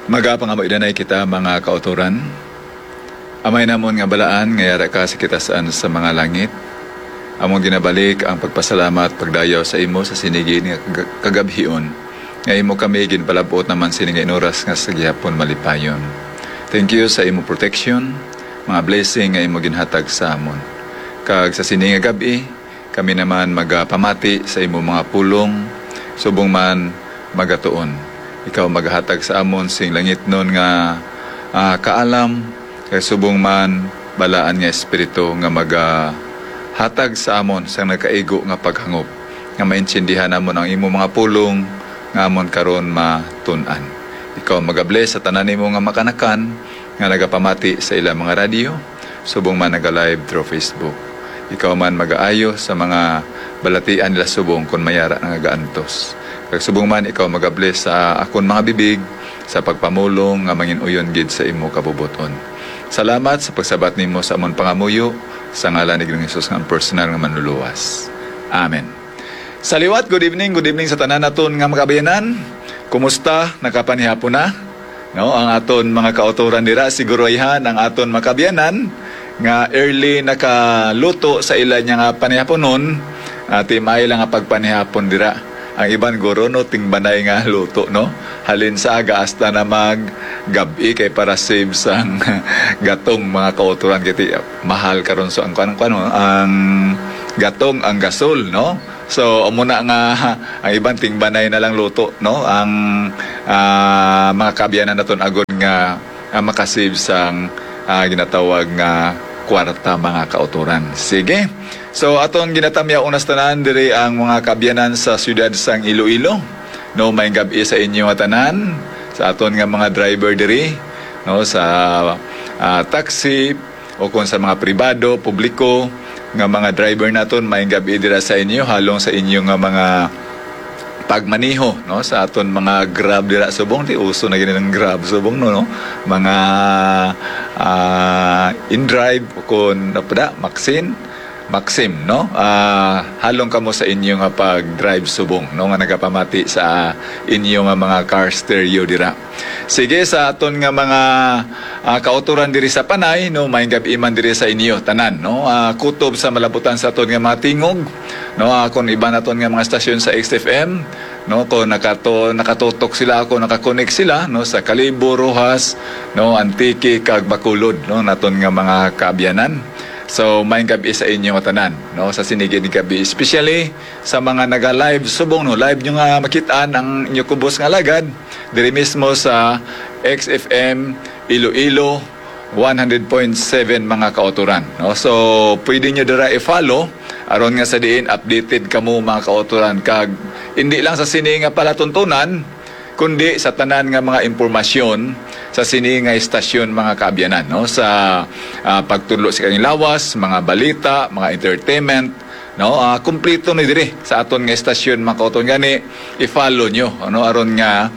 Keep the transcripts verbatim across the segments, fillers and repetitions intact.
Magapangamuy danay kita, mga kautoran. Amay namon nga balaan nga yara ka sa kitasan sa mga langit, amon ginabalik ang pagpasalamat pagdayaw sa imo sa sinigi nga kag- kagabhion, nga imo kami ginpalabot naman sini nga inuras nga sa gihapon malipayon. Thank you sa imo protection, mga blessing nga imo ginhatag sa amon. Kag sa sini nga gab-i, kami naman magapamati sa imo mga pulong, subong man magatuon. Ikaw magahatag sa amon sing langitnon nga, ah, kaalam, kag subong man balaan nga espiritu nga magahatag sa amon sang nagkaigo nga paghangop, nga maintindihan namon ang imo mga pulong nga amon karon matun-an. Ikaw magabless sa tanan nimo nga makanakan nga nagapamati sa ilang mga radyo, subong man naga-live through Facebook. Ikaw man magaayo sa mga balatian nila subong kon may ara nga gaantos. Kag subong man ikaw magabless sa akon mga bibig sa pagpamulong nga mangin-uyon gid sa imo kabubuton. Salamat sa pagsabat nimo sa amon pangamuyo, sa ngalan ni Ginoong Jesus nga ang personal nga Manluluwas. Amen. Sa liwat, good evening, good evening sa tanan naton nga mga kaabyanan. Kumusta? Nakapanihapon na? No, ang aton mga kautoran dira, siguro ayhan ang aton mga kaabyanan nga early nakaluto sa ila niya nga panihaponon, ah, timay lang nga pagpanihapon dira. Ang iban guro, no, tingbanay nga luto, no? Halin sa aga hasta na mag gab-i kay para save sang gatong, mga kautoran, kay ti-, mahal karon so ang kuan, kuan, no? Ang gatong, ang gasol, no? So, amo na nga ang iban tingbanay na lang luto, no? Ang, ah, mga kaabyanan naton agod nga, ah, makasave sang, ah, ginatawag nga kwarta, mga kautoran. Sige. So, aton ginatamyaw unas tanan diri ang mga kaabyanan sa siyudad sang Iloilo. No, may gab-i sa inyo nga tanan, sa aton nga mga driver diri, no, sa, ah, taxi, o kung sa mga pribado, publiko, nga mga driver naton, may gab-i dira sa inyo, halong sa inyo nga mga pagmaneho, no, sa aton mga Grab dira subong, ti uso na gini ang Grab subong, no, no? Mga, ah, InDrive, o kung ano pa da, Maxin, Maxim, no? Ah, halong kamo sa inyo nga pag-drive subong, no, nga nagapamati sa inyo nga mga car stereo dira. Sige, sa aton nga mga, ah, kautoran diri sa Panay, no, may gab-i man diri sa inyo tanan, no? Ah, kutob sa malabutan sa aton nga mga tingog, no? Ah, kung iban naton nga mga stasyon sa X F M, no, kung nakato-, nakatutok sila, kung nakakonek sila, no, sa Kalibo, Roxas, no, Antique, kag Bacolod, no, naton nga mga kaabyanan. So, may gab-i sa inyo nga tanan, no, sa sinigid nga gab-i, especially sa mga naga-live subong, no, live nyo nga makitaan ang inyo kubos nga alagad diri mismo sa X F M Iloilo one hundred point seven, mga kautoran, no? So, pwede nyo dira i-follow aron nga sa diin updated kamo, mga kautoran, kag hindi lang sa sini nga palatuntunan, kundi sa tanan nga mga impormasyon sa sini nga istasyon, mga kaabyanan, no? Sa, ah, pagtudlo sa kanilawas, mga balita, mga entertainment, no? Ah, kumpleto ni diri sa aton nga istasyon, mga kautoran, gani i-follow nyo, ano, aron nga,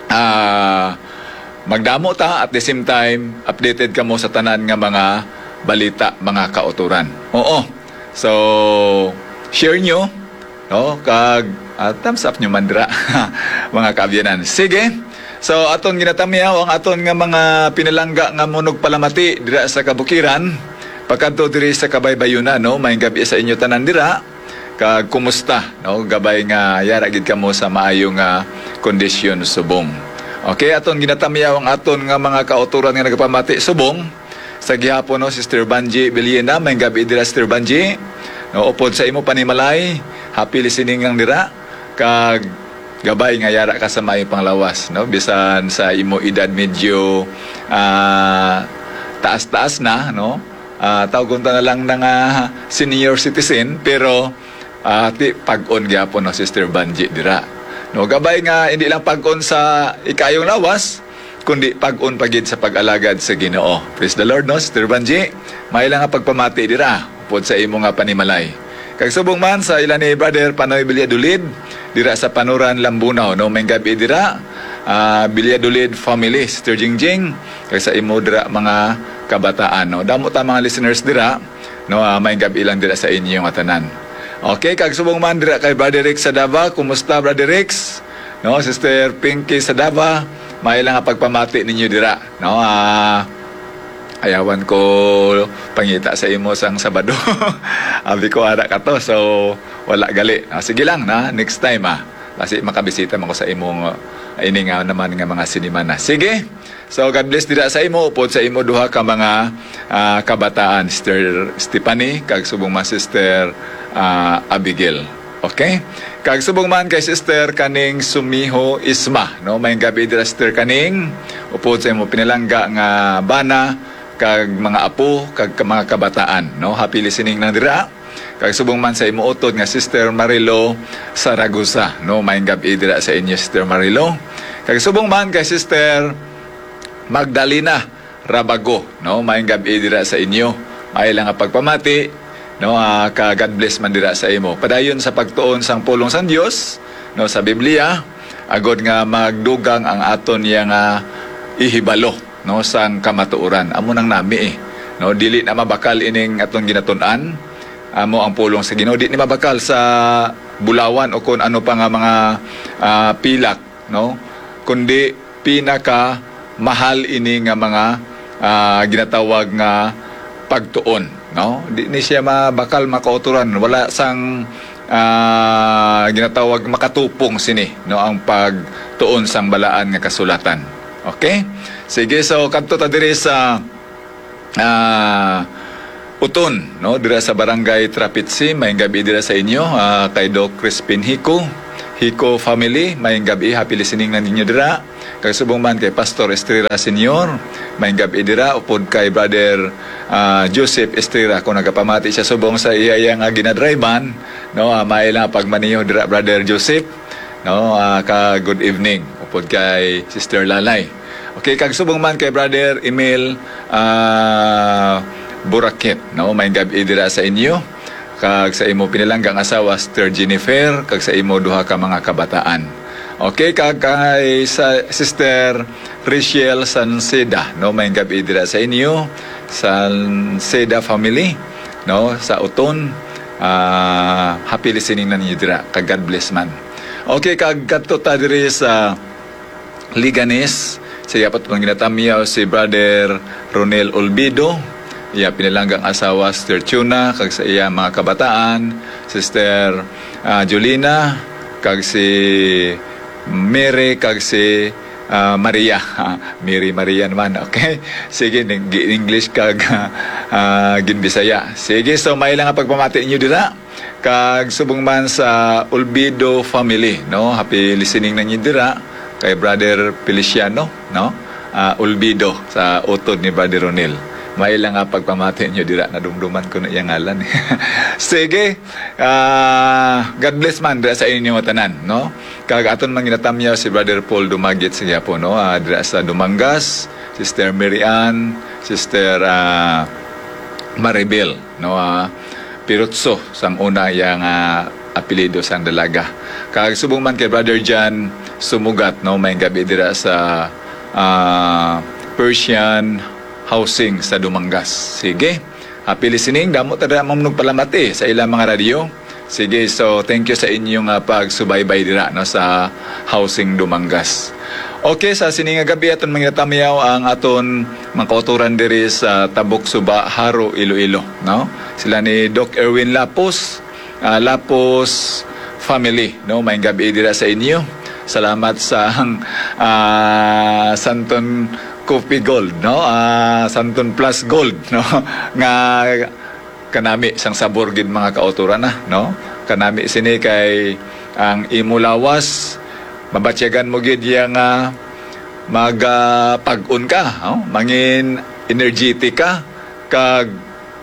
ah, magdamo ta, at the same time, updated kamo sa tanan nga mga balita, mga kautoran. Oo. So, share nyo, no? Kag, ah, thumbs up nyo man dira, mga kaabyanan. Sige. So, aton ginatamyaw ang aton nga mga pinalangga nga manugpalamati dira sa kabukiran. Pagkadto diri sa kabaybayunan, no? May gab-i sa inyo tanan dira. Kag kumusta, no? Gabay nga yara gid kamo sa maayo nga kondisyon subong. Okay, aton ginatamyaw ang aton nga mga kautoran nga nagapamati subong. Sa gihapon, no, Sister Banji Villena, may gab-i dira, Sister Banji. No, upod sa imo panimalay, happy listening lang dira. Kag gabay nga yara ka sa maayo panglawas, no? Bisan sa imo edad medyo, ah, taas-taas na, no? Ah, tawgon ta na lang na nga senior citizen, pero, ah, ti pag-on gyapon, no, Sister Banji dira. No, gabay nga hindi lang pag-on sa ikaayong lawas, kundi pag-on pa gid sa pag-alagad sa Ginoo. Praise the Lord, no, Sister Banji? May lang nga pagpamati dira, upod sa imo nga panimalay. Kag subong man sa ila ni Brother Panoy Valladolid, dira sa Panuran, Lambunao, no? May gab-i dira, ah, Valladolid family, Sister Jingjing, kag sa imo dira mga kabataan, no? Damo ta mga listeners dira, no? Ah, may gab-i lang dira sa inyo nga tanan. Okay, kag subong man dira kay Brother Rex Sadava. Kumusta, Brother Rex? No, Sister Pinky Sadava, May lang nga pagpamati ninyo dira, no? Ah, ayawan ko pangita sa imo sang Sabado. Abi ko ara ka to, so wala gali. Ah, sige lang na, next time, ah. Kasi makabisita man ko sa imong, ah, ini nga naman nga mga sinimana. Sige. So God bless dira sa imo upod sa imo duha ka mga, ah, kabataan, Sister Stephanie kag subong man Sister, ah, Abigail. Okay? Kag subong man kay Sister kaning Sumiho Isma, no? May gabi dira, Sister, kaning upod sa imo pinalangga nga bana kag mga apo kag ka-, mga kabataan, no? Happy listening na dira. Kag subong man sa imo utod nga Sister Marilo Saragosa, no? May gabi dira sa inyo, Sister Marilo. Kag subong man kay Sister Magdalena Rabago, no? May gabi dira sa inyo. May lang nga pagpamati, no? Ah, ka God bless man dira sa imo. Padayon sa pagtuon sang pulong sang Dios, no, sa Biblia, agod nga magdugang ang aton iya nga ihibalo, no, sang kamatuoran. Amo nang nami, eh, no? Dili na mabakal ining aton ginatun-an. Amo ang pulong sa Ginoo. Di ni mabakal sa bulawan o kun ano pa nga mga, ah, pilak, no? Kundi pinaka mahal ini nga mga, ah, ginatawag nga pagtuon, no? Di ni siya mabakal makauturan. Wala sang, ah, ginatawag makatupong sini, no? Ang pagtuon sang balaan nga kasulatan. Okay? Sige, so kadto ta diri sa, ah, Uton, no? Dira sa Barangay Trapitsi, may gabi dira sa inyo, ah, kay Doc Crispin Hico, Hico family, may gabi, happy listening na ninyo dira. Kag subong man kay Pastor Estrera Senior, may gabi dira, upod kay Brother, ah, Joseph Estrera, kung nagapamati siya subong sa iya, iya nga ginadrivean, no? Ah, may lang pagmaniho dira, Brother Joseph, no? Ah, ka good evening, upod kay Sister Lalay. Okay, kag subong man kay Brother Emil, ah, Burakit, no? May gabi dira sa inyo. Kag sa imo pinalanggang asawa, Sister Jennifer, kag sa imo duha ka mga kabataan. Okay, kag kay sa Sister Rachel Sanceda, no? May gabi dira sa inyo, Sanceda family, no? Sa Uton, ah, happy listening na ninyo dira, kag God bless man. Okay, kag kadto ta diri sa Liganes. Sa iya pa tong ginatamyaw si Brother Ronel Olbido, iya pinalanggang asawa, Sister Chuna, kag sa iya mga kabataan, Sister, ah, Jolina, kag si Mary, kag si, ah, Maria. Ah, Mary Maria naman, okay? Sige, ning-, gi-English kag, ah, ginbisaya. Sige, so may lang nga pagpamati ninyo dira. Kag subong man sa Olbido family, no? Happy listening na ninyo dira kay Brother Feliciano, no? Ah, Olbido sa utod ni Brother Ronel. May lang nga pagpamati ninyo dira, nadumduman ko na iyang ngalan. Sige, ah, God bless man dira sa inyo tanan, no? Kag aton man ginatamyaw si Brother Paul Dumagit sa gihapon, no? Ah, dira sa Dumangas, Sister Mary Ann, Sister, ah, Maribel, no? Ah, Pirutso sang una iya nga apelyido sang dalaga. Kag subong man kay Brother John Sumugat, no, may gabi dira sa, ah, Persian Housing sa Dumangas. Sige. Happy listening. Damo ta dira, ma'am, nagpalamati sa ilang mga radyo. Sige, so thank you sa inyong, ah, pagsubaybay dira, no, sa Housing Dumangas. Okay, sa sini nga gabi aton mangitamyaw ang aton mga kauturan diri sa Tabok Suba, Jaro, Iloilo, no? Sila ni Doc Erwin Lapos, ah, Lapos family, no? May gabi dira sa inyo. Salamat sa, ah, Santon Coffee Gold, no? Ah, Santon Plus Gold, no? Nga kanami sang sabor gid, mga kauturan, na, no? Kanami sini kay ang imo lawas, mabatyagan mo gid iya nga mag, ah, pag-on ka, no? Mangin energetic ka, kag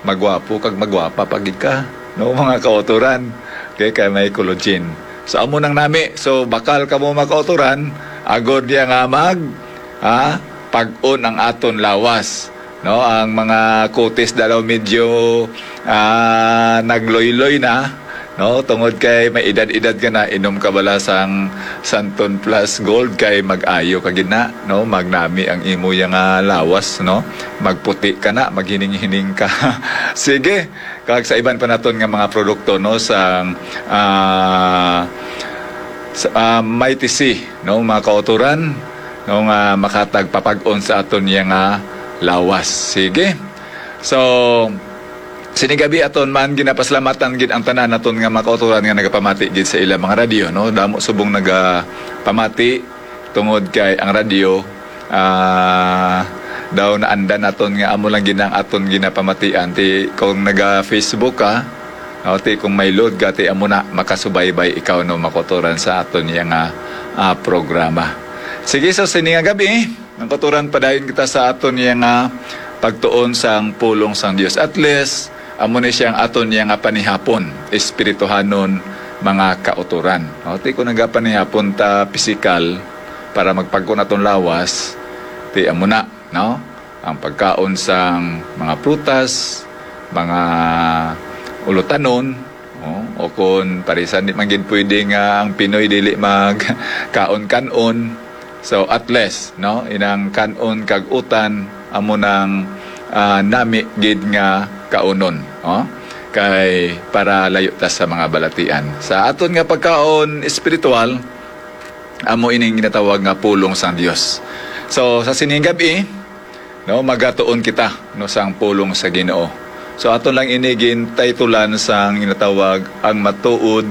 magwapo kag magwapa pa gid ka, no, mga kauturan. Okay, kay may collagen. So, amo nang nami. So, bakal kamo, mga kauturan, agod niya nga mag, ah, pag-on ang aton lawas, no? Ang mga kutis daw medyo, ah, nagloyloy na, no? Tungod kay may edad-edad ka na, inom ka bala sang Santon Plus Gold kay mag-ayo ka gid na, no? Magnami ang imo ya nga lawas, no? Magputi ka na, maghining-hining ka. Sige, kag sa iban pa naton nga mga produkto, no, sang, ah, sa, ah, Mighty C, no, mga kauturan, no, nga makatag papag-on sa aton iya nga lawas. Sige. So, sini gabi aton man ginapasalamatan gid ang tanan naton nga mga kauturan nga nagapamati gid sa ilang mga radyo, no? Damo subong nagapamati tungod kay ang radyo, ah, daw naanda naton nga amo lang gid ang aton ginapamatian. Ti kung naga-Facebook ka, no, ti kung may load ka, ti amo na makasubaybay ikaw, no, mga kauturan sa aton iya nga, ah, programa. Sige, so sini nga gabi, ang kauturan padayon kita sa aton iya nga pagtuon sang pulong sang Dios. At least, amo ni siya ang aton iya nga panihapon, espirituhanon, mga kauturan. No? Ti kung nagapanihapon ta pisikal para magpagkon aton lawas, ti amo na, no? Ang pagkaon sang mga prutas, mga ulutanon, oh, o kung parisan di man gid pwede nga ang Pinoy dili magkaon kan-on. So at least, no, inang kan-on kag utan amo nang, ah, nami gid nga kaunon, oh, kay para layo ta sa mga balatian. Sa aton nga pagkaon espiritual, amo ining ginatawag nga pulong sang Dios. So sa sining gabi, no, magatuon kita, no, sang pulong sa Ginoo. So aton lang ini gintaytulan sang ginatawag ang matuod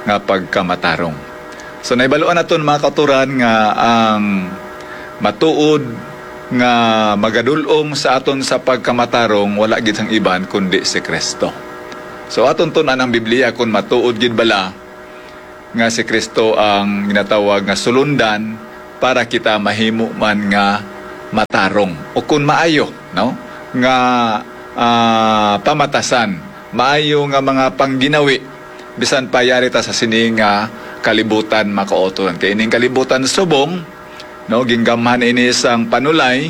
nga pagkamatarong. So naibaluan naton, mga kauturan, nga ang matuod nga magadul-ong sa aton sa pagkamatarong wala gid sang iban kundi si Kristo. So aton tun-an ang Biblia kung matuod gid bala nga si Kristo ang ginatawag nga sulundan para kita mahimo man nga matarong o kun maayo, no? Nga, ah, pamatasan, maayo nga mga pangginawi, bisan pa yari ta sa sini nga kalibutan, mga kauturan. Kay ining kalibutan subong, no, ginggamhan ini sang panulay,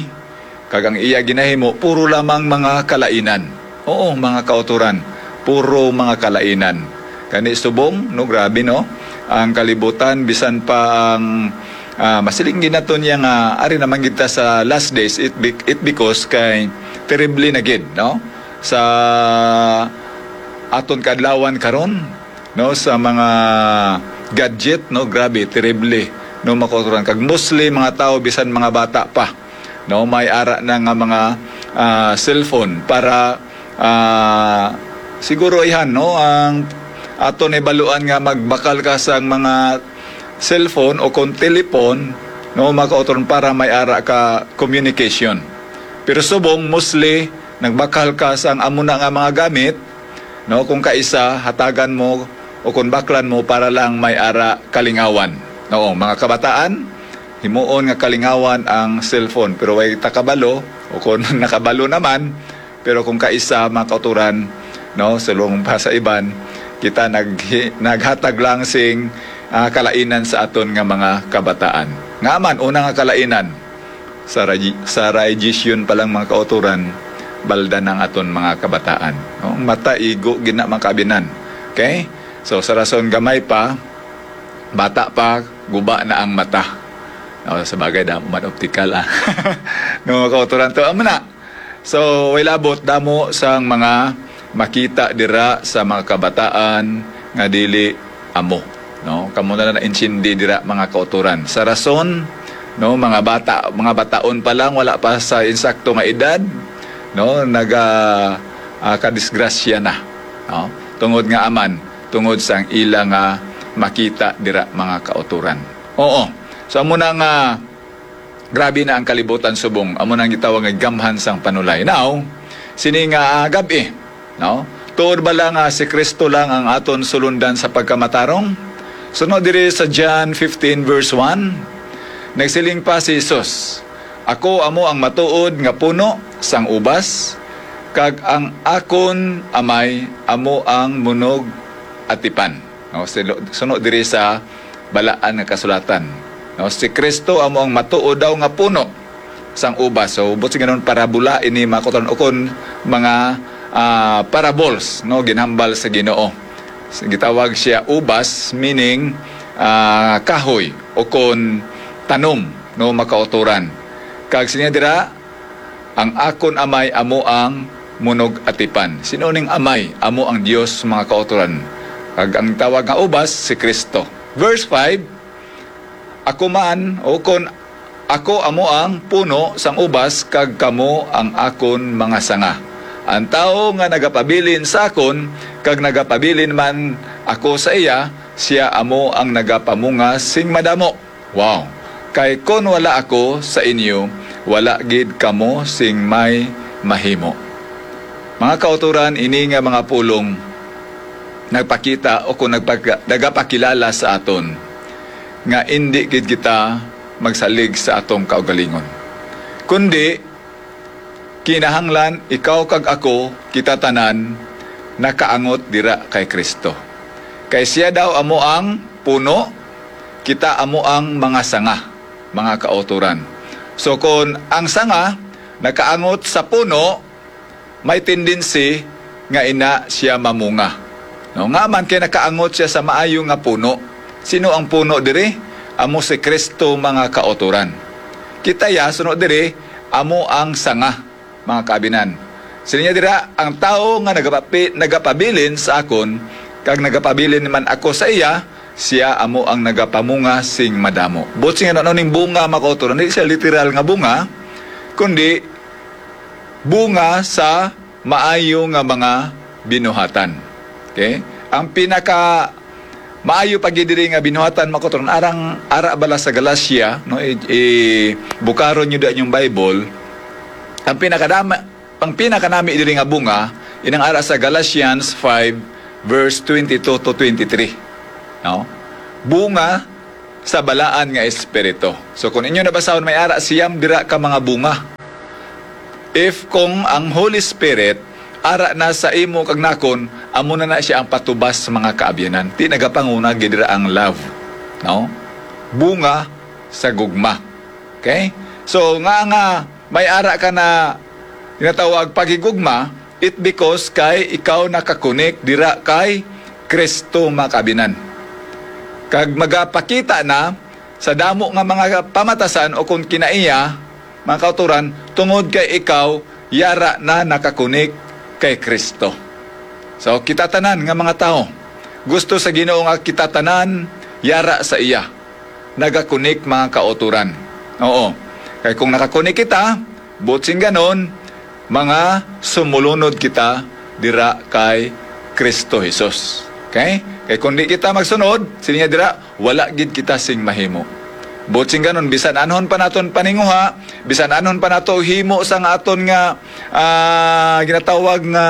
kag ang iya ginahimo puro lamang mga kalainan. Oo, mga kauturan, puro mga kalainan. Gani subong, no, grabe, no? Ang kalibutan, bisan pa ang, ah, masiling gid nato niya nga ari naman gid ta sa last days, it, bec- it because kay terrible na gid, no? Sa aton kaadlawan karon, no, sa mga gadget, no, grabe, terrible, no, mga kauturan. Kag mostly mga tao, bisan mga bata pa, no, may ara na nga mga, ah, cellphone para, ah, siguro ihan, no, ang ato na ibaluan nga magbakal ka sang mga cellphone o kung telephone, no, mga kauturan, para may ara ka communication. Pero subong, mostly, nagbakal ka sang amo na nga mga gamit, no, kung kaisa, hatagan mo o kung baklan mo para lang may ara kalingawan. Oo, mga kabataan, himuon nga kalingawan ang cellphone. Pero way ta kabalo, o kung nakabalo naman, pero kung kaisa, mga kauturan, no, sulong pa sa iban, kita nag, naghatag lang sing, ah, kalainan sa aton nga mga kabataan. Nga man, una nga kalainan, sa, regi- sa radiation pa lang, mga kauturan, balda ng aton mga kabataan. No? Ang mata, igo, gina, mga kaabinan. Okay? So, sa rason gamay pa, bata pa, guba na ang mata. No, sa bagay, damo man optical, ah. No, mga kauturan to. Amo na. So, way labot, damo sang mga makita dira sa mga kabataan nga dili amo, no? Kamo na lang naintindi dira, mga kauturan. Sa rason, no, mga bata, mga bataon pa lang, wala pa sa insakto nga edad, no, naga, ah, kadisgrasya na, no? Tungod nga aman, tungod sang ila nga makita dira, mga kauturan. Oo. So, amo na nga grabe na ang kalibutan subong. Amo nang gitawag nga gamhan sang panulay. Now, sini nga, ah, gab-i, no? Tuod bala nga si Kristo lang ang aton sulundan sa pagkamatarong? Suno diri sa John fifteen verse one, nagsiling pa si Jesus, "Ako amo ang matuod nga puno sang ubas, kag ang akon Amay amo ang munog atipan." No, silo- suno diri sa Balaan nga Kasulatan. No, si Kristo amo ang matuod daw nga puno sang ubas. So, buot silingon, parabola ini, mga kauturan, ukon mga, ah, parables, no, ginhambal sa Ginoo. Gitawag siya ubas, meaning, ah, kahoy, ukon tanom, no, mga kauturan. Kag siya dira, "Ang akon Amay amo ang munog atipan." Sino ning Amay? Amo ang Dios, mga kauturan. Kag ang tawag nga ubas, si Kristo. Verse five, "Ako man, o kon Ako amo ang puno sang ubas, kag kamo ang akon mga sanga. Ang tawo nga nagapabilin sa akon, kag nagapabilin man ako sa iya, sia amo ang nagapamunga sing madamo. Wow! Kay kon wala ako sa inyo, wala gid kamo sing may mahimo. Mga kautoran, ini nga mga pulong nagpakita o kung nagpag-, nagapakilala sa aton nga indi gid kita magsalig sa atong kaugalingon, kundi kinahanglan ikaw kag ako, kita tanan, nakaangot dira kay Cristo. Kay sia daw amo ang puno, kita amo ang mga sanga, mga kautoran. So, kon ang sanga nakaangot sa puno, may tendency nga ina sia mamunga. No, nga man kay nakaangot sia sa maayo nga puno. Sino ang puno diri? Amo si Cristo, mga kautoran. Kita ya, suno diri, amo ang sanga, mga kaabinan. Siling niya dira, ang tawo nga nagapapi-, nagapabilin sa akon, kag nagapabilin man ako sa iya, sia amo ang nagapamunga sing madamo. Buot sing ano, ano ning bunga, mga kautoran? Hindi siya literal nga bunga, kundi bunga sa maayo nga mga binuhatan. Okay? Ang pinaka maayo pa gid diri nga binuhatan, mga kautoran, arang ara bala sa Galacia, no? I, i bukaron niyo da inyong Bible. Ang pinakadama, ang pinakanami diri nga bunga, inang ara sa Galatians five, verse twenty-two to twenty-three. No? Bunga sa balaan nga espiritu. So, kung inyo nabasahon, may ara siyam dira ka mga bunga. If kung ang Holy Spirit ara na sa imo kag nakon, amo na na siya ang patubas sa mga kaabyanan. Ti nagapanguna gid dira ang love, no? Bunga sa gugma. Okay? So, nga, nga may ara ka na ginatawag paghigugma, it because kay ikaw nakakonek dira kay Kristo, mga kaabinan. Kag magapakita na sa damo nga mga pamatasan o kon kinaiya, mga kautoran, tungod kay ikaw yara na nakakonek kay Kristo. So, kita tanan nga mga tawo, gusto sa Ginoo nga kita tanan yara sa iya, nagakonek, mga kautoran. Oo. Kay kung nakakonek kita, buot sing ganon, mga sumulunod kita dira kay Kristo Jesus. Okay? Kay kung di kita magsunod, sini niya dira, wala gid kita sing mahimo. Buot sing ganon, bisan anhon pa naton paninguha, bisan anhon pa nato himo sang aton nga, ah, ginatawag nga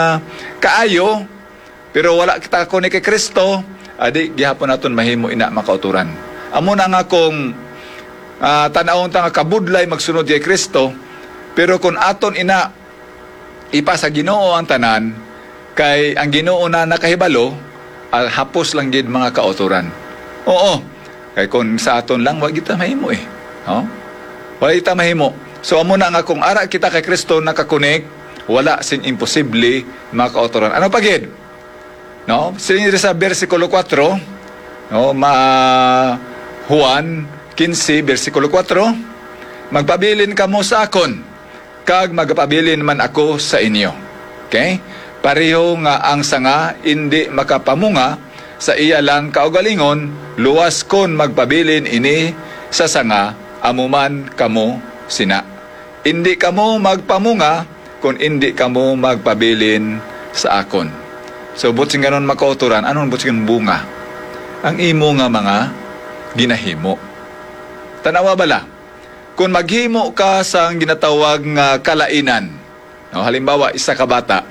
kaayo, pero wala kita kunik kay Kristo, adi gihapon naton mahimo ina, mga kautoran. Amo na nga kung, ah, tan-awon ta nga kabudlay magsunod kay Kristo, pero kung aton ina ipa sa Ginoo ang tanan, kay ang Ginoo na nakahibalo, ah, hapos lang gid, mga kautoran. Oo, kay kung sa aton lang, wa kita mahimo eh. No? Wala kita mahimo. So, amo na nga kung ara kita kay Kristo nakakonek, wala sing imposible, mga kautoran. Ano pa gid? No? Siling diri sa bersikulo kuwatro, no, ma-, Juan quince, bersikulo kuwatro, "Magpabilin kamo sa akon, kag magapabilin man ako sa inyo." Okay? Pareho nga ang sanga indi makapamunga sa iya lang kaugalingon, luwas kon magpabilin ini sa sanga, amo man kamo sina. Indi kamo magpamunga kon indi kamo magpabilin sa akon. So, buot sing ganon, mga kautoran, ano ang buot sing bunga? Ang imo nga mga ginahimo. Tanawa bala, kung maghimo ka sang ginatawag nga kalainan, no, halimbawa, isa ka bata,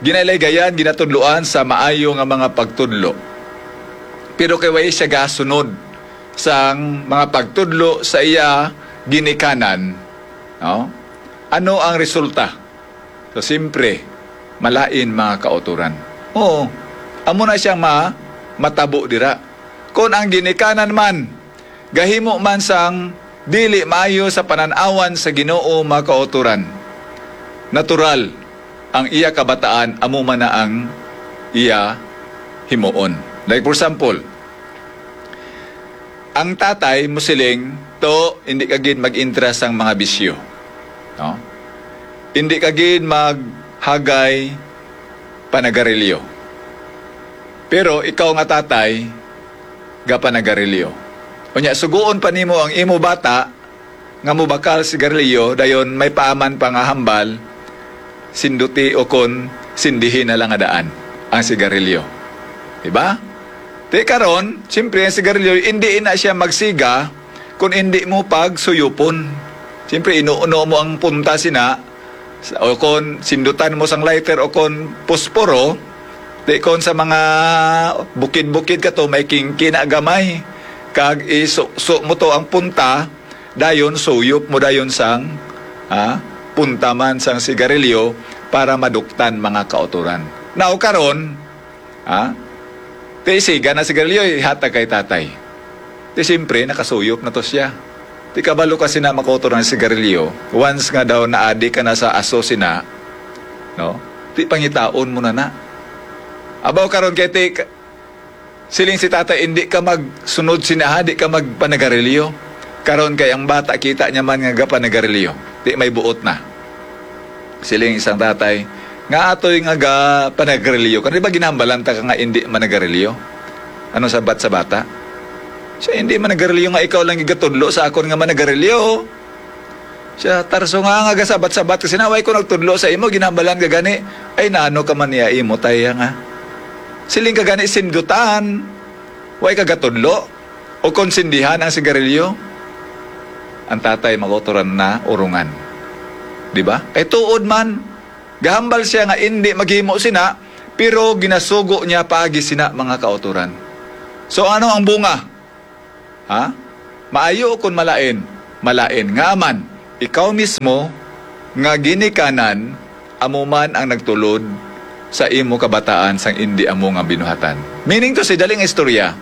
ginailaygayan, ginatudloan sa maayo nga mga pagtudlo. Pero kay way siya gasunod sang mga pagtudlo sa iya ginikanan, no? Ano ang resulta? So, siyempre, malain, mga kautoran. Oo, amo na siyang ma-, matabo dira. Kung ang ginikanan man, gahimo man sang dili maayo sa panan-awan sa Ginoo, mga kautoran, natural, ang iya kabataan, amo man na ang iya himuon. Like, for example, ang tatay mo siling, "To, hindi ka gid mag-intra sang mga bisyo. No? Hindi ka gid maghagay panagarilyo." Pero ikaw nga tatay, gapanagarilyo. Unya, sugoon pa nimo ang imo bata nga mobakal sigarilyo, dayon may paaman pa nga hambal, sinduti o kon sindihi na lang nga daan ang sigarilyo. Diba? Ti karon, siyempre, ang sigarilyo, hindi na siya magsiga kung hindi mo pagsuyupon. Siyempre, inuuno mo ang punta sina, sa- o kon sindutan mo sang lighter o kon posporo, di kon sa mga bukid-bukid ka to, may kingki na gamay. Kag isu-, su mo to ang punta, dayon suyop mo dayon sang, ah, punta man sang sigarilyo para maduktan, mga kautoran. Now, karon, ah, ti isiga na sigarilyo, ihatag kay tatay. Ti siyempre, nakasuyop na to siya. Ti kabalo ka sina, mga kautoran, sigarilyo, once nga daw naadi ka na sa aso sina, no? Ti pangitaon mo na na. Abaw, karon kay ti, siling si tatay, "Hindi ka magsunod sina, ha? Di ka magpanagarilyo." Karon kay ang bata, kita niya man nga gapanagarilyo, di may buot na. Siling isang tatay, "Nga atoy nga gapanagarilyo ka, di ba ginambalan ta ka nga hindi managarilyo?" Ano sabat sa bata? Siya, "Hindi managarilyo nga ikaw lang gigatudlo sa akon nga managarilyo." Siya, "Tarso nga nga gasabat-sabat ka sina, way ko nagtudlo sa imo, ginambalan ka gani." "Ay, nano ka man niya imo, tay, nga siling ka gani sindutan, way ka gatudlo o kon sindihan ang sigarilyo?" Ang tatay, mga kautoran, na urungan. Di ba? Kay tuod man, gahambal siya nga indi maghimo sina, pero ginasugo niya paagi sina, mga kautoran. So, ano ang bunga? Ha? Maayo kon malain? Malain. Nga man, ikaw mismo nga ginikanan, amo man ang nagtulod sa imo kabataan sang indi amo nga binuhatan. Meaning to say, dali nga istorya,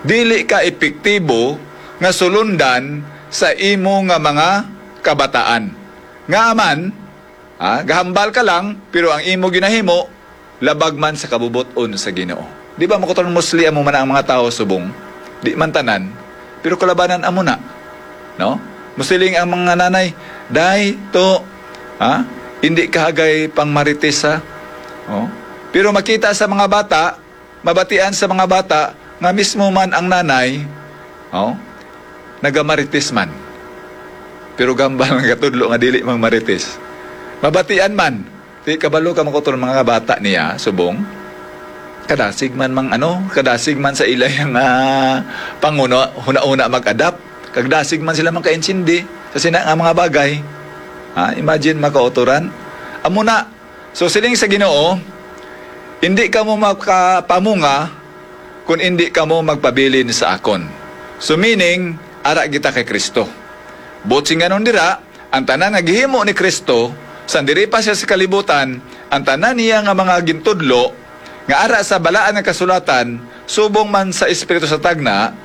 dili ka epektibo nga sulundan sa imo nga mga kabataan. Nga man, ha, gahambal ka lang, pero ang imo ginahimo labag man sa kabubot-on sa Ginoo. Di ba, mga kautoran, mostly amo man ang mga tawo subong? Di man tanan, pero kalabanan amo na, no? Mostly ang mga nanay, "Day, to, ha, hindi ka hagay pang marites, ha?" Oh. Pero makita sa mga bata, mabatian sa mga bata nga mismo man ang nanay, oh, nagamarites man. Pero gambal nga katudlo nga dili mang marites. Mabatian man, di kabalo ka, mga kautoran, mga bata niya subong. Kadasig man mang ano, kadasig man sa ila nga panguna, huna-huna mag-adapt. Kagdasig man sila makaintindi sa sina nga mga bagay. Ha, imagine, mga kautoran. Amo na, so, siling sa Ginoo, "Indi kamo makapamunga kon indi kamo magpabilin sa akon." So, meaning, ara kita kay Kristo. Buot singanon dira, ang tanan nga gihimo ni Kristo, sang diri pa siya sa kalibutan, ang tanan niya nga mga gintudlo, nga ara sa Balaan nga Kasulatan, subong man sa Espiritu sa Tagna,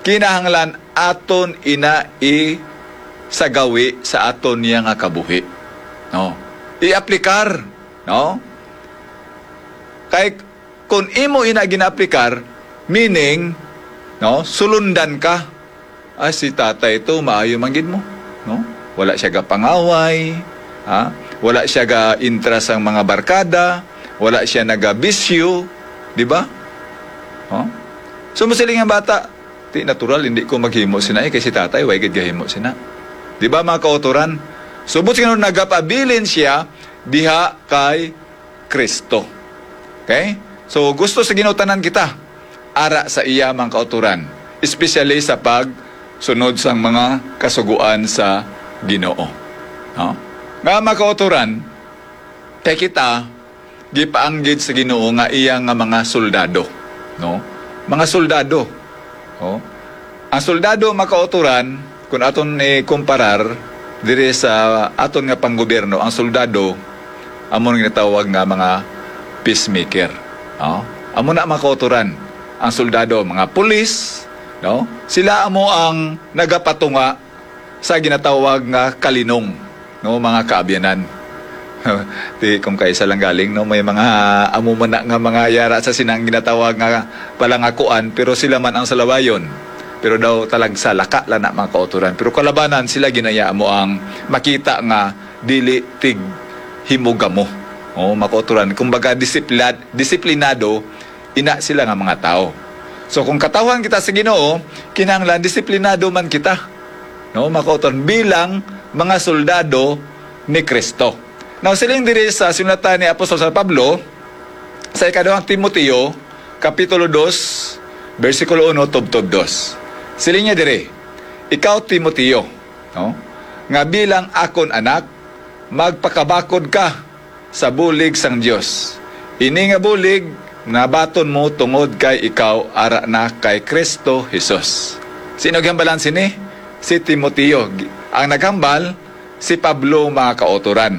kinahanglan aton ina i sa gawi sa aton niya nga kabuhi. No? I-aplikar, no? Kay kung imo ina gina-aplikar, meaning, no, sulundan ka. "Ah, si tatay to, maayo man gid mo, no? Wala siya gapangaway, ha? Wala siya ga-intra sang mga barkada, wala siya nagabisyo," di ba? Oh? So, masiling ang bata, "Ti natural, hindi ko maghimo sina, eh, kay si tatay, way gid gahimo sina." Di ba, mga kautoran? So, buot singanon, nagapabilin siya diha kay Kristo. Okay? So, gusto sa Ginoo tanan kita ara sa iya, mga kautoran, especially sa pagsunod sang mga kasugoan sa Ginoo. No? Nga, mga kautoran, kay kita, gipaanggid sa Ginoo nga iya nga mga soldado, no? Mga soldado. Oh. Ang soldado, mga kautoran, kung aton ikumparar diri sa aton nga panggobyerno, ang soldado amo ang ginatawag nga mga peacemaker, no? Amo na, mga kautoran, ang soldado, mga pulis, no? Sila amo ang nagapatunga sa ginatawag nga kalinong, no, mga kaabyanan. Di kung kaisa lang galing, no, may mga amo man na nga mga yara sa sinang ginatawag nga palangakuan, pero sila man ang salawayon. Pero daw talagsa, laka lang na, mga kautoran. Pero kalabanan sila, ginaya mo ang makita nga dili tig himugamo. Oh, mga kautoran. Kumbaga, disiplad-, disiplinado, ina sila nga mga tawo. So, kung katawhan kita sa Ginoo, kinahanglan disiplinado man kita. no, mga kauturan, bilang mga soldado ni Kristo. Now, siling diri sa sinulatan ni Apostol San Pablo sa ikaduhang Timoteo, Kapitulo dos, bersikulo uno, tubtob dos. Siling niya diri, "Ikaw, Timoteo, no, nga bilang akon anak, magpakabakod ka sa bulig sang Dios. Ini nga bulig nabaton mo tungod kay ikaw ara na kay Kristo Jesus." Sino ginhambalan sini? Si Timoteo. Ang naghambal, si Pablo, mga kautoran.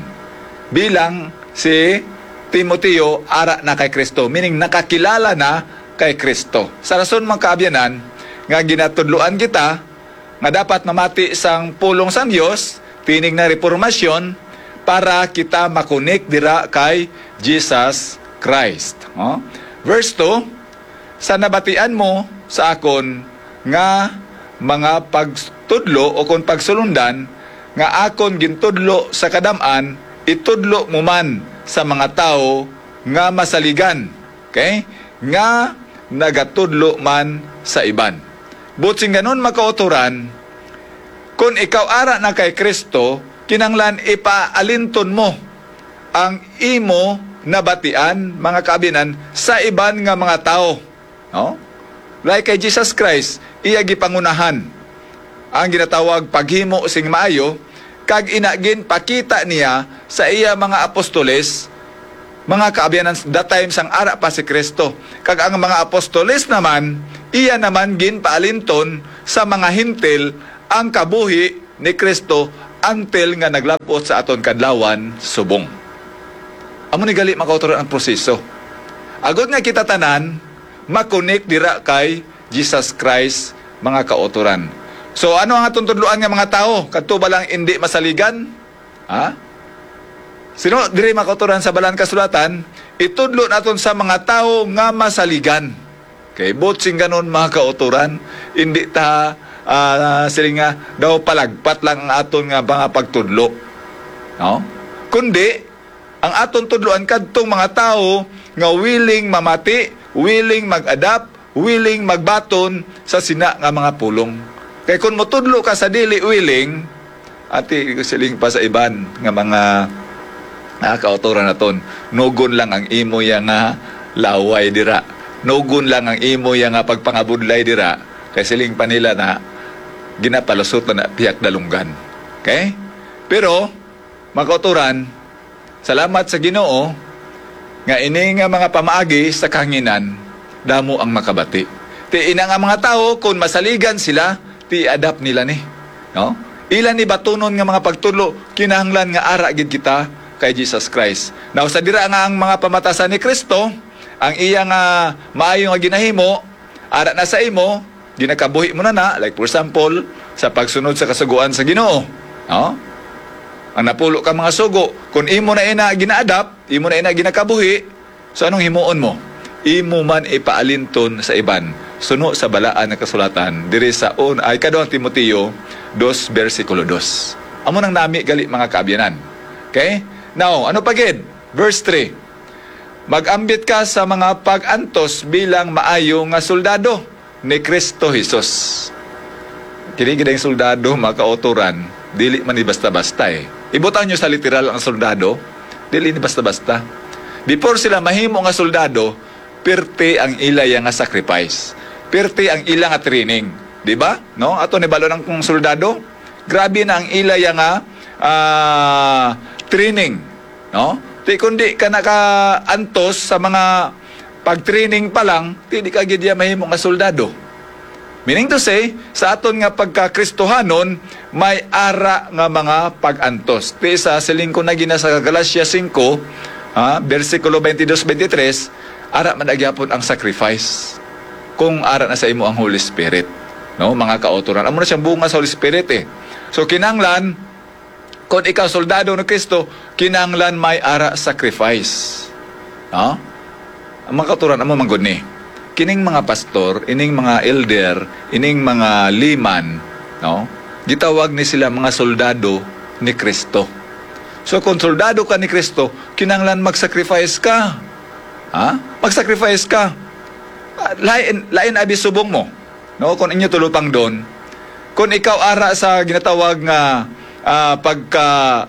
Bilang si Timoteo ara na kay Kristo, meaning nakakilala na kay Kristo. Sa rason, mga kaabyanan, nga ginatudloan kita nga dapat mamati sang pulong sang Dios, tinig na reformasyon, para kita makunik dira kay Jesus Christ. Oh? Verse two, "Sa nabatian mo sa akon nga mga pagtudlo o kon pagsulundan nga akon gintudlo sa kadam-an, itudlo mo man sa mga tawo nga masaligan." Okay? Nga nagatudlo man sa iban. Buot silingon, mga kautoran, kon ikaw ara na kay Kristo, kinahanglan ipaalinton mo ang imo nabatian, mga kaabyanan, sa iban nga mga tawo. No? Like kay Jesus Christ, iya gipangunahan ang ginatawag paghimo sing maayo, kag ina ginpakita niya sa iya mga apostoles, mga kaabyanan, that time sang ara pa si Kristo. Kag ang mga apostoles naman, iya naman ginpaalinton sa mga Hentil ang kabuhi ni Kristo until nga naglab-ot sa aton kadlawan subong. Amo ni gali, mga kautoran, ang proseso. Agod nga kita tanan makunik dira kay Jesus Christ, mga kautoran. So, ano ang aton tudloan nga mga tawo? Kadto ba lang indi masaligan? Ha? Sino diri, mga kautoran, sa Balaan Kasulatan, itudlo naton sa mga tawo nga masaligan? Kay buot silingon, mga kautoran, indi ta, ah, siling nga daw palagpat lang ang aton nga mga pagtudlo. No? Kundi, ang aton tudloan kadtong mga tawo nga willing mamati, willing mag-adapt, willing magbaton sa sina nga mga pulong. Kay kon motudlo ka sa dili willing, ati, siling pa sa iban nga mga, ah, kautoran naton, "Nugon lang ang imo ya nga laway dira. Nugon lang ang imo ya nga pagpangabudlay dira." Kay siling pa nila na ginapalusot na na pihak dalunggan. Okay? Pero, mga kautoran, salamat sa Ginoo nga ini nga mga pamaagi sa kahanginan, damo ang makabati. Ti ina nga mga tawo, kon masaligan sila, ti adapt nila ni. No? Ila ni batunon nga mga pagtudlo, kinahanglan nga ara gid kita kay Jesus Christ. Now, sa dira nga ang mga pamatasan ni Kristo, ang iya nga maayo nga ginahimo, ara na sa imo, ginakabuhi mo na na, like for example, sa pagsunod sa kasugoan sa Ginoo. No? Ang napulo ka mga sugo, kung imo na ina gina-adapt, imo na ina ginakabuhi, so anong himuon mo? Imo man ipaalinton sa iban. Suno sa Balaan nga Kasulatan, diri sa un-, ay, ikaduhang Timoteo dos, bersikulo dos. Amo nang nami gali, mga kaabyanan. Okay? Now, ano pa gid? Verse three. "Mag-ambit ka sa mga pag-antos bilang maayo nga soldado ni Kristo Jesus." Kini gid ang soldado, mga kautoran, dili man ni basta-basta eh. Ibutang nyo sa literal ang soldado, dili ni basta-basta. Before sila mahimo nga soldado, pirti ang ila ya nga sacrifice. Pirti ang ila nga training. Di ba? No? Ato ni balo ng kung soldado, grabe na ang ila ya nga, ah, training. No? Ti kundi ka nakaantos sa mga pag-training pa lang, ti di ka gid ya mahimo nga soldado. Meaning to say, sa aton nga pagka-Kristohanon, may ara nga mga pag-antos. Ti sa siling ko na gina sa Galacia singko, ah, bersikulo twenty-two, twenty-three, ara man na gyapon ang sacrifice kung ara na sa imo ang Holy Spirit. No, mga kautoran. Amo na siyang bunga sa Holy Spirit eh. So, kinahanglan, kung ikaw soldado ni Kristo, kinahanglan may ara sacrifice. No? Ang mga kautoran, amo man gud ni. Kining mga pastor, ining mga elder, ining mga liman, no? Gitawag ni sila mga soldado ni Kristo. So, kung soldado ka ni Kristo, kinahanglan mag-sacrifice ka. Ha? Mag-sacrifice ka. Ah, lain, lain abi subong mo. No, kung inyo tulupang doon, Kung ikaw ara sa ginatawag nga, ah, pagka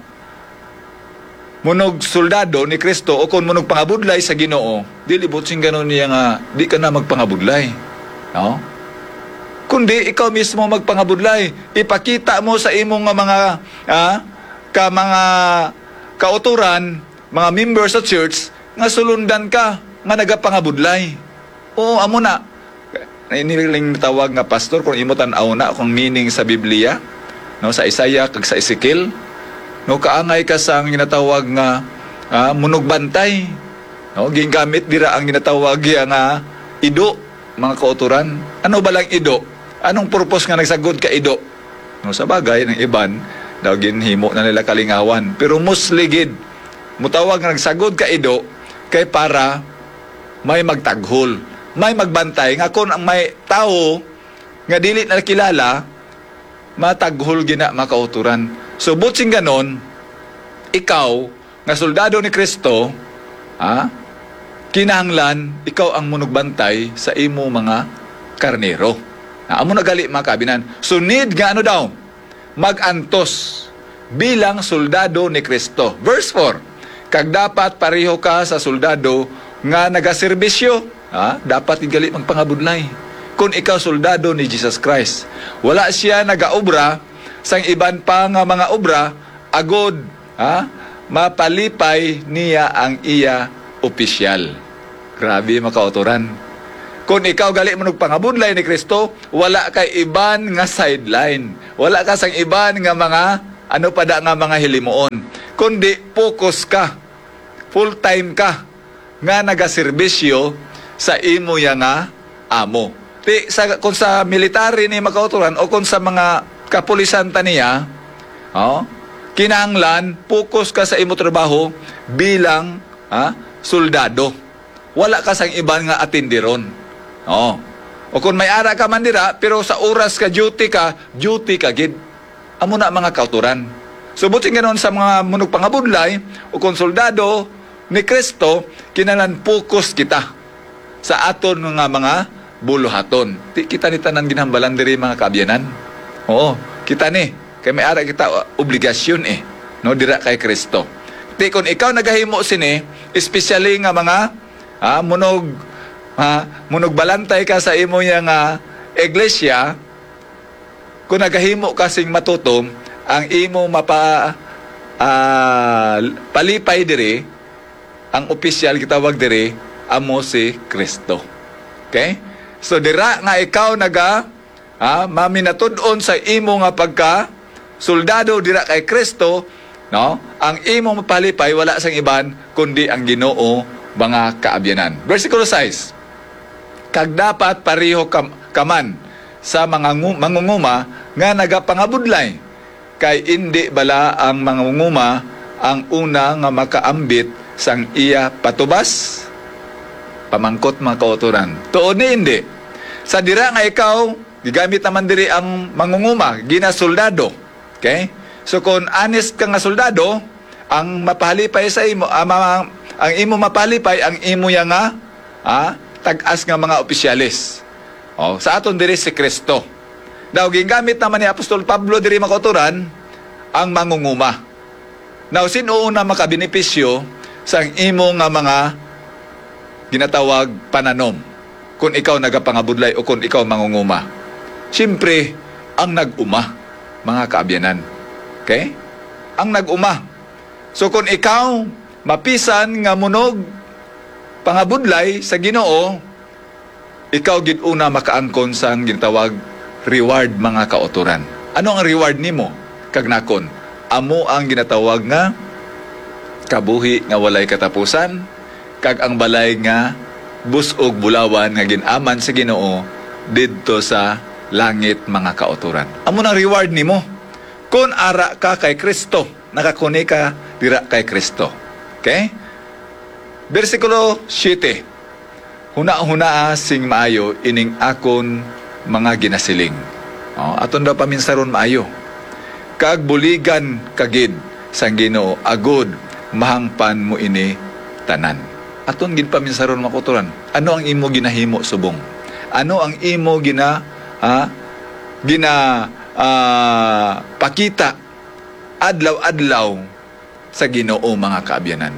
munog soldado ni Kristo o kung munog pangabudlay sa Ginoo, dili butsingganon niya nga di ka na magpangabudlay. No? Kundi ikaw mismo magpangabudlay. Ipakita mo sa imo nga mga, ah, ka mga kauturan, mga member sa church, nga sulundan ka, nga nagapangabudlay. Oo, amo na. Iniling tawag nga pastor, kung imo tan-aw na, kung meaning sa Biblia, no, sa Isaiah kag sa Ezekiel, no, kaangay ka sang ginatawag nga, ah, munugbantay. No, gingamit dira ang ginatawag iya nga ido, mga kauturan. Ano ba lang ido? Anong purpose nga nagsagod ka ido? No, sa bagay, ng iban, daw ginhimo na nila kalingawan. Pero mostly gid, mutawag nga nagsagod ka ido kay para may magtaghol, may magbantay nga kung ang may tawo nga dili na kilala, mataghol gina makauturan. So, butsing ganon, ikaw nga soldado ni Kristo, ha, kinahanglan ikaw ang munugbantay sa imo mga karnero. Na amo na gali, mga kabinan. So, need nga ano daw? Mag-antos bilang soldado ni Kristo. Verse four, "Kag dapat pareho ka sa soldado nga nagaserbisyo." Ha? Dapat gid gali magpangabudlay. Kung ikaw soldado ni Jesus Christ, wala siya nagaobra sang iban pa nga mga obra, agod, ha, mapalipay niya ang iya opisyal. Grabe, makauturan. Kung ikaw gali manugpangabudlay ni Kristo, wala kay iban nga sideline. Wala ka sang iban nga mga, ano pa da nga mga hilimuon. Kundi focus ka, full time ka, nga nagaserbisyo sa imo ya nga amo. Ti, sa, kung sa military ni makauturan o kung sa mga kapulisan ta niya, oh, kinahanglan focus ka sa imo trabaho bilang, ha, soldado. Wala ka sang iban nga atindiron. Oh. O kung may ara ka man dira, pero sa oras ka duty ka, duty ka gid. Amo na, mga kauturan. So, buti ganon sa mga manugpangabudlay o kung soldado ni Kristo, kinahanglan focus kita sa aton nga mga buluhaton. Ti kita ni tanan ginhambalan diri, mga kaabyanan. Oo, kita ni. Kay may ara kita, uh, obligasyon, eh, no, dira kay Kristo. Ti kung ikaw nagahimo sini, especially nga mga, ah, munog, ah, munugbalantay ka sa imo ya nga iglesia, kung nagahimo ka sing matutom, ang imo mapa-, ah, palipay diri, ang opisyal gitawag diri, amo si Kristo. Okay? So, dira nga ikaw naga, ah, maminatud-on sa imo nga pagka soldado dira kay Kristo, no? Ang imo mapalipay wala sang iban kundi ang Ginoo, mga kaabyanan. Bersikulo sais, "Kag dapat pareho kam-, ka man sa mga ngu-, mangunguma nga nagapangabudlay, kay indi bala ang mangunguma ang una nga makaambit sang iya patubas?" Pamangkot, mga kauturan. Tuod ni indi. Sa dira nga ikaw, gigamit naman diri ang mangunguma, ginasoldado. Okay? So, kung honest ka nga soldado, ang mapahalipay sa imo, ah, ma-, ang imo mapahalipay, ang imo ya nga, ah, tag-as nga mga opisyales. Oh, sa aton diri si Kristo. Now, gingamit naman ni Apostol Pablo diri, mga kauturan, ang mangunguma. Now, sin-o una makabenepisyo sang imo nga mga ginatawag pananom, kung ikaw nagapangabudlay o kung ikaw mangunguma? Siyempre, ang nag-uma, mga kaabyanan. Okay? Ang nag-uma. So, kung ikaw mapisan nga munog pangabudlay sa Ginoo, ikaw gid una makaangkon sang ginatawag reward, mga kautoran. Ano ang reward nimo kag nakon? Amo ang ginatawag nga kabuhi nga walay katapusan, kag ang balay nga bus-og bulawan nga gin-aman sa Ginoo didto sa langit, mga kautoran. Amo nang reward nimo. Kon ara ka kay Kristo, nakakuni ka dira kay Kristo. Okay? Bersikulo siyete, "Hunahunaa sing maayo ining akon mga ginasiling." Oh, aton daw paminsaron maayo. "Kag buligan ka gid sang Ginoo, agod mahangpan mo ini tanan." Aton gid paminsaron, mga kautoran. Ano ang imo ginahimo subong? Ano ang imo gina-, ha? Gina-, ah, pakita adlaw-adlaw sa Ginoo, mga kaabyanan.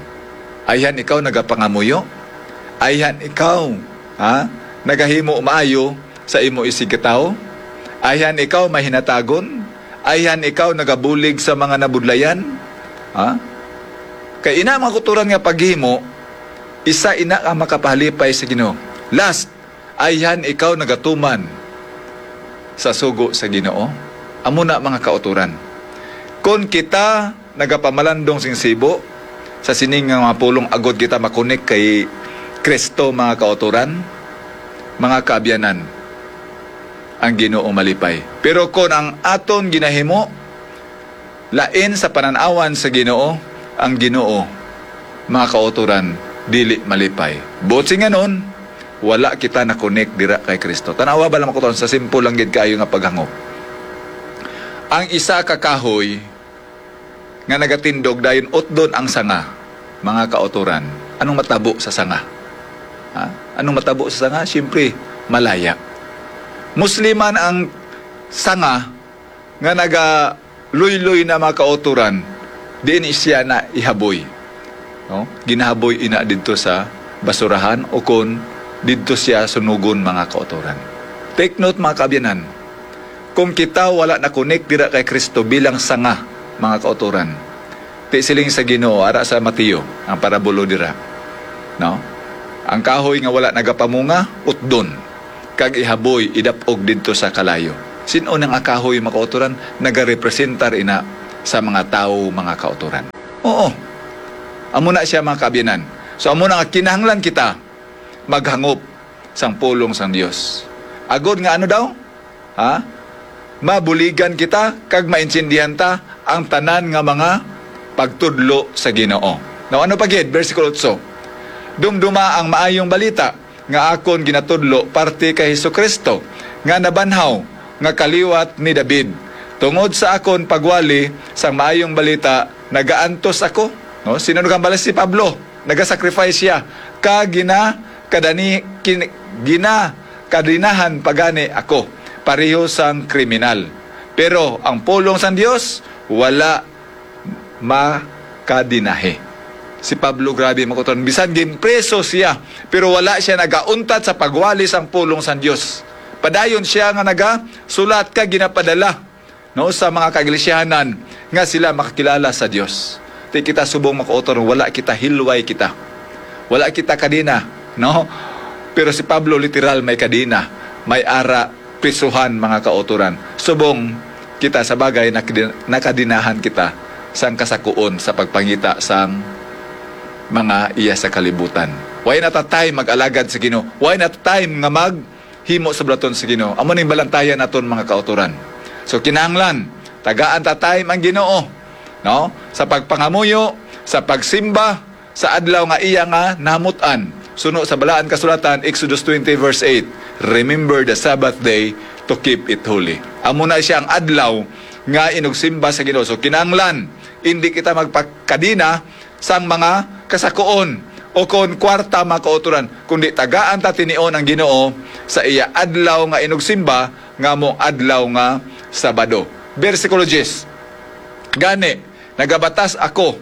Ayhan ikaw nagapangamuyo? Ayhan ikaw, ha, nagahimo maayo sa imo isigkatawo? Ayhan ikaw mahinatagon? Ayhan ikaw nagabulig sa mga nabudlayan? Ha? Kay ina, mga kauturan, nga paghimo, isa ina ka makapahalipay sa Ginoo. Last, ayhan ikaw nagatuman sa sugo sa Ginoo? Amo na, mga kauturan. Kon kita nagapamalandong sing sibo sa sining nga mga pulong, agod kita makunik kay Kristo, mga kauturan, mga kaabyanan, ang Ginoo malipay. Pero kon ang aton ginahimo lain sa panan-awan sa Ginoo, ang Ginoo, mga kauturan, dili malipay. Buot silingon, wala kita nakonek dira kay Kristo. Tanawa ba lang, mga kauturan, sa simple lang gid kaayo nga paghangop. Ang isa ka kahoy nga nagatindog, dayon utdon ang sanga, mga kauturan. Anong matabo sa sanga? Ha? Anong matabo sa sanga? Siyempre, malaya. Musliman ang sanga nga nagaluyloy na, mga kauturan, diin siya na ihaboy. No? Ginahaboy ina didto sa basurahan o kon didto siya sunugon, mga kauturan. Take note, mga kaabyanan, kung kita wala na-connect dira kay Kristo bilang sanga, mga kauturan, ti siling sa Ginoo ara sa Mateo, ang parabulo dira, no? Ang kahoy nga wala nagapamunga, utdon, kag ihaboy, idap-og didto sa kalayo. Sin-o nang ang kahoy, mga kauturan? Nagarepresentar ina sa mga tawo, mga kauturan. Oo. Amo na siya, mga kaabyanan. So, amo na nga kinahanglan kita maghangop sang pulong sang Dios. Agod nga ano daw? Ha? Mabuligan kita kag maintindihan ta ang tanan nga mga pagtudlo sa Ginoo. Now, ano pa gid? Bersikulo otso, "Dumduma ang maayong balita nga akon ginatudlo parte kay Jesu-Cristo, nga nabanhaw, nga kaliwat ni David. Tungod sa akon pagwali sang maayong balita, nagaantos ako." No? Sino nagambala? Si Pablo. Nagasacrifice siya. Kag gina-, kadani-, kin-, ginakadinahan pa gani ako, pareho sang kriminal. Pero ang pulong sang Dios wala makadinahi. Si Pablo, grabe, mga kauturan. Bisan ginpreso siya, pero wala siya nagauntat sa pagwali sang pulong sang Dios. Padayon siya nga nagasulat kag ginapadala, no, sa mga kaiglesiyahanan nga sila makakilala sa Dios. Ti kita subong, mga kauturan, wala kita, hilway kita. Wala kita kadina, no? Pero si Pablo literal may kadina, may ara, prisuhan, mga kauturan. Subong kita sa bagay, nakdi-, nakadinahan kita sang kasakuon sa pagpangita sang mga iya sa kalibutan. Wala na ta time mag-alagad sa Ginoo. Wala na ta time nga mag himo sa bulaton sa Ginoo. Amo ning balantayan naton, mga kauturan. So, kinahanglan tagaan ta time ang Ginoo, no? Sa pagpangamuyo, sa pagsimba, sa adlaw nga iya nga nahamut-an. Suno sa Balaan Kasulatan, Exodus twenty verse eight, "Remember the Sabbath day to keep it holy." Amo na siya ang adlaw nga inugsimba sa Ginoo. So, kinahanglan indi kita magpakadina sang mga kasakuon o kon kwarta, mga kauturan, kundi tagaan ta tinion ang Ginoo sa iya adlaw nga inugsimba, nga amo adlaw nga Sabado. Bersikulo diyes, "Gani, nagabatas ako,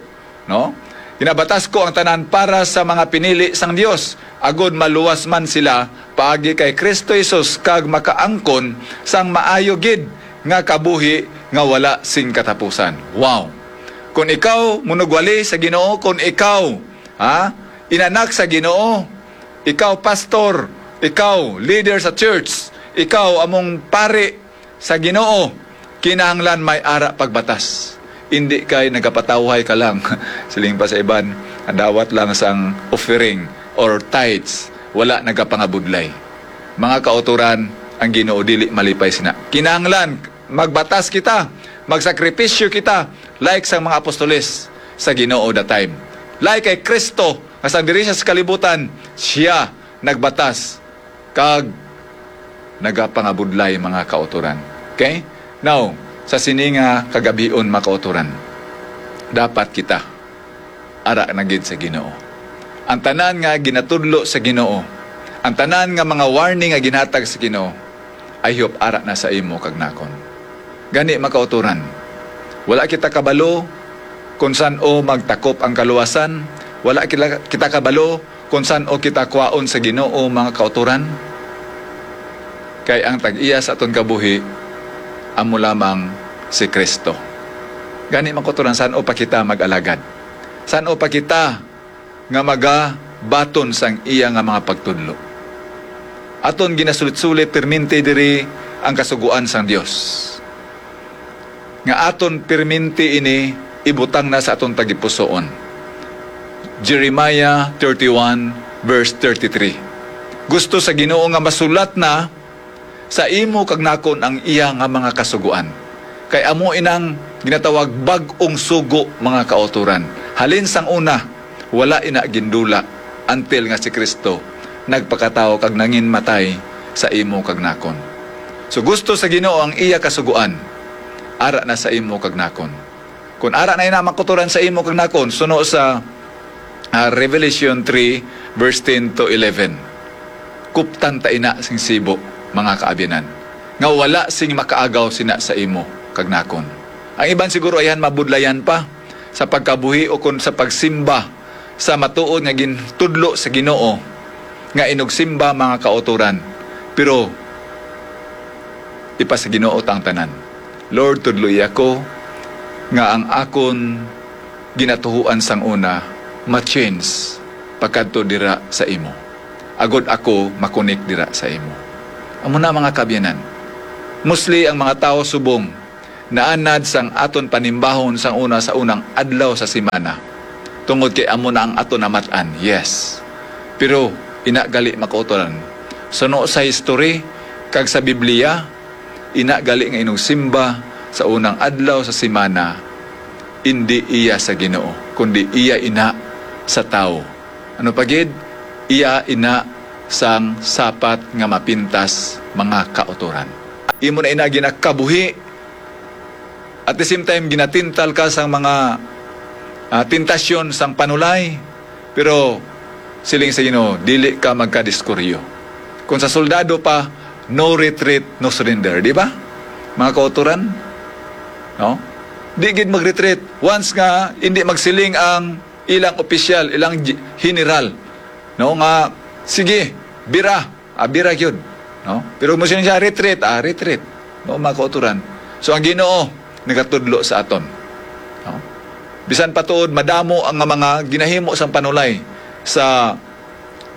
no? Ginabatas ko ang tanan para sa mga pinili sang Dios, agod maluwas man sila paagi kay Cristo Jesus kag makaangkon sang maayo gid nga kabuhi nga wala sing katapusan." Wow! Kung ikaw manugwali sa Ginoo, kung ikaw, ha, inanak sa Ginoo, ikaw pastor, ikaw leader sa church, ikaw among pari sa Ginoo, kinahanglan may ara pagbatas. Indi kay nagapatawhay ka lang. Siling pa sa iban, dawat lang sang offering or tithes, wala nagapangabudlay. Mga kauturan, ang Ginoo dili malipay sina. Kinahanglan magbatas kita, magsakripisyo kita, like sang mga apostoles sa Ginoo that time. Like kay Kristo, nga sang diri siya sa kalibutan, siya nagbatas kag nagapangabudlay, mga kauturan. Okay? Now, sa sini nga kagabhion, mga kauturan, dapat kita ara na gid sa Ginoo. Ang tanan nga ginatudlo sa Ginoo, ang tanan nga mga warning nga ginhatag sa Ginoo, I hope ara na sa imo kag nakon. Gani, mga kautoran, wala kita kabalo kon san-o magtakop ang kaluwasan, wala kita, kita kabalo kon san-o kita kwaon sa Ginoo, mga kautoran. Kay ang tag-iya sa aton kabuhi amo lamang si Cristo. Gani, mga kautoran, san-o pa kita mag-alagad? San-o pa kita nga magabaton sang iya nga mga pagtudlo? Aton ginasulit-sulit perminti diri ang Kasugoan sang Dios, nga aton perminti ini ibutang na sa aton tagipusoon. Jeremiah thirty-one, verse thirty-three. Gusto sa Ginoo nga masulat na sa imo kag nakon ang iya nga mga kasugoan. Kay amo inang ginatawag bag-ong sugo, mga kautoran. Halin sang una, wala ina gindula, until nga si Cristo nagpakatawo kag nanginmatay sa imo kag nakon. So, gusto sa Ginoo ang iya kasugoan, ara na sa imo kag nakon. Kung ara na ina, mga kautoran, sa imo kag nakon, suno sa, ah, Revelation three, verse ten to eleven, kuptan ta ina sing sibo, mga kaabyanan, nga wala sing makaagaw sina sa imo kag nakon. Ang iban siguro ayhan mabudlayan pa sa pagkabuhi o kon sa pagsimba sa matuod nga gintudlo sa Ginoo nga inugsimba, mga kautoran. Pero ipa sa Ginoo ta ang tanan. Lord, tudloi ako nga ang akon ginatuhuan sang una ma-change pagkadto dira sa imo, agod ako makunik dira sa imo. Amo na, mga kabyanan. Mostly ang mga tawo subong naanad sang aton panimbahon sang una sa unang adlaw sa semana, tungod kay amo na ang aton namat-an. Yes. Pero ina gali, mga kautoran, suno sa history kag sa Biblia, ina gali nga inugsimba sa unang adlaw sa semana, indi iya sa Ginoo, kundi iya ina sa tawo. Ano pa gid? Iya ina sang sapat nga mapintas, mga kautoran. Imo na ina ginakabuhi. At the same time, ginatintal ka sang mga, ah, tentasyon sang panulay. Pero siling sa Ginoo, dili ka magkadiskuryo. Kung sa soldado pa, no retreat, no surrender. Di ba? Mga kautoran? No? Di gid mag-retreat. Once nga hindi magsiling ang ilang opisyal, ilang gi-, general, no, nga, "Sige, bira." Ah, bira gyud, no? Pero mo siya, "Retreat." Ah, retreat. No, mga kautoran. So, ang Ginoo nagatudlo sa aton. No? Bisan pa tuod madamo ang mga ginahimo sang panulay sa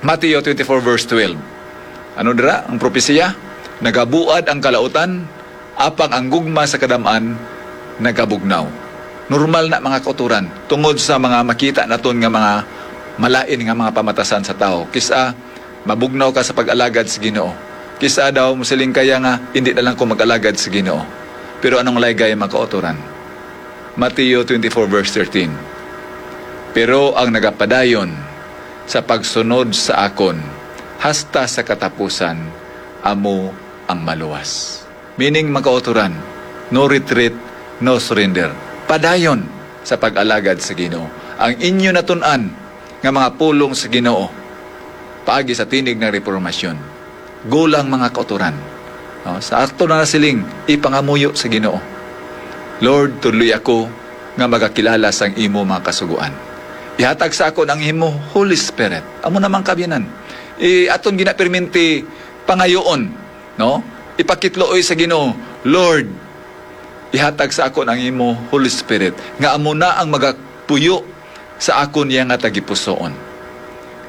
Mateo twenty-four, verse twelve. Ano dira ang propesiya? "Nagabuad ang kalautan, apang ang gugma sa kadam-an nagabugnaw." Normal na, mga kautoran, tungod sa mga makita naton nga mga malain nga mga pamatasan sa tawo. Kis-a mabugnaw ka sa pag-alagad sa Ginoo. Kis-a daw mosiling ka ya nga, "Indi na lang ko mag-alagad sa Ginoo." Pero anong laygay, mga kautoran? Mateo twenty-four, verse thirteen, "Pero ang nagapadayon sa pagsunod sa akon hasta sa katapusan, amo ang maluwas." Meaning, mga kautoran, no retreat, no surrender. Padayon sa pag-alagad sa Ginoo. Ang inyo natun-an nga mga pulong sa Ginoo paagi sa tinig ng Reformasyon, gulang, mga kautoran. No? Sa ato na siling, ipangamuyo sa Ginoo, "Lord, tudloi ako nga magakilala sang imo mga kasugoan. Ihatag sa akon ang imo Holy Spirit." Amo namang kabyanan. I-, aton ginaperminti pangayoon, no? Ipakitluoy sa Ginoo, "Lord, ihatag sa akon ang imo Holy Spirit, nga amo na ang magapuyo sa akon niya nga tagipusoon."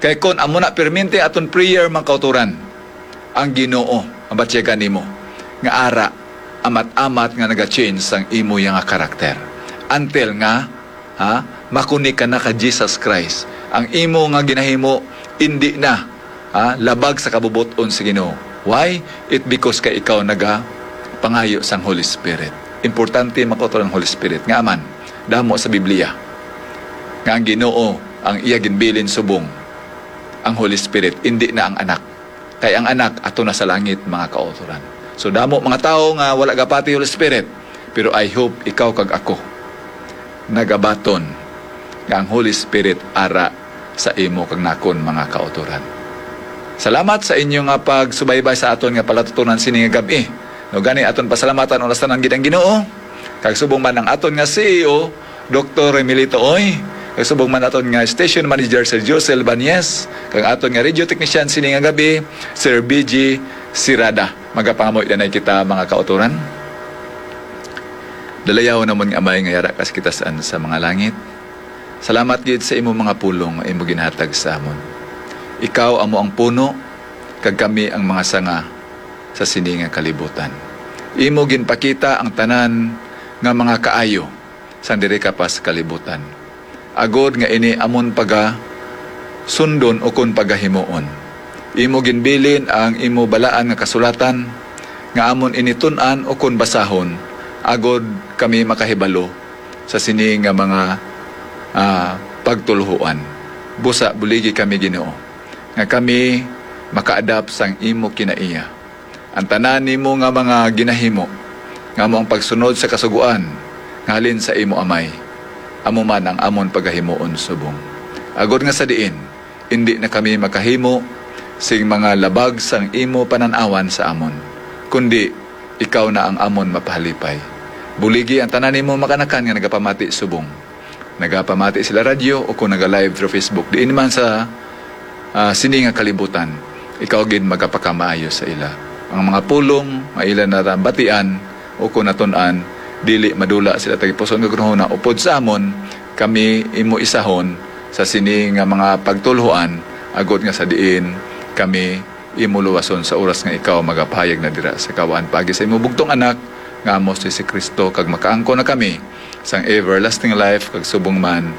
Kay kon amo na perminti aton prayer, mga kautoran, ang Ginoo ang batyagan nimo nga ara amat-amat nga naga-change sang imo ya nga karakter, until nga, ha, makunik ka na kay Jesus Christ. Ang imo nga ginahimo indi na, ha, labag sa kabubot-on sa Ginoo. Why? It because kay ikaw naga pangayo sang Holy Spirit. Importante, mga kautoran, ang Holy Spirit. Nga man, damo sa Biblia nga ang Ginoo ang iya ginbilin subong ang Holy Spirit, indi na ang Anak. Kay ang Anak ato na sa langit, mga kautoran. So, damo mga tawo nga wala gapati Holy Spirit, pero I hope ikaw kag ako nagabaton nga ang Holy Spirit ara sa imo kag nakon, mga kautoran. Salamat sa inyo nga pagsubaybay sa aton nga palatutonan sini nga gab-i. No, gani aton pasalamatan unas tanan gid ang Ginoo, kag subong man ang aton nga C E O, Doktor Remilito Oy, kag subong man aton nga station manager, Sir Josel Banyes, kag aton nga radio technician sini nga gabi, Sir B G Sirada. Magapangamoy danay kita, mga kautoran. Dalayaw namon nga Amay nga yara ka sa kitasan sa mga langit. Salamat gid sa imo mga pulong nga imo ginhatag sa amon. Ikaw amo ang puno, kag kami ang mga sanga sa sini nga kalibutan. Imo ginpakita ang tanan nga mga kaayo sang diri ka pa sa kalibutan, agod nga ini amon paga sundon ukon pagahimuon. Imo ginbilin ang imo balaan nga kasulatan, nga amon ini tun-an ukon basahon, agod kami makahibalo sa sini nga mga, ah, pagtulhuan. Busa buligi kami, Ginoo, nga kami makaadap sang imo kinaiya. Ang tanan nimo nga mga ginahimo, nga amo ang pagsunod sa kasugoan nga halin sa imo Amay, amo man ang amon pagahimuon subong. Agod nga sa diin, indi na kami makahimo sing mga labag sang imo panan-awan sa amon, kundi ikaw na ang amon mapahalipay. Buligi ang tanan nimo mga kanakan nga nagapamati subong. Nagapamati sila radyo o kung naga-live through Facebook, diin man sa, ah, sini nga kalibutan, ikaw gid magapakamaayo sa ila. Ang mga pulong nga ila nabatian o kung natun-an, dili madula sila tagipuson nga gunahuna upod sa amon, kami imo isahon sa sini nga mga pagtulhoan, agod nga sa diin kami imo luwason sa oras nga ikaw magapahayag na dira sa kawaan paagi sa imo bugtong Anak nga amo si Jesu-Cristo, kag makaangkon na kami sang everlasting life, kag subong man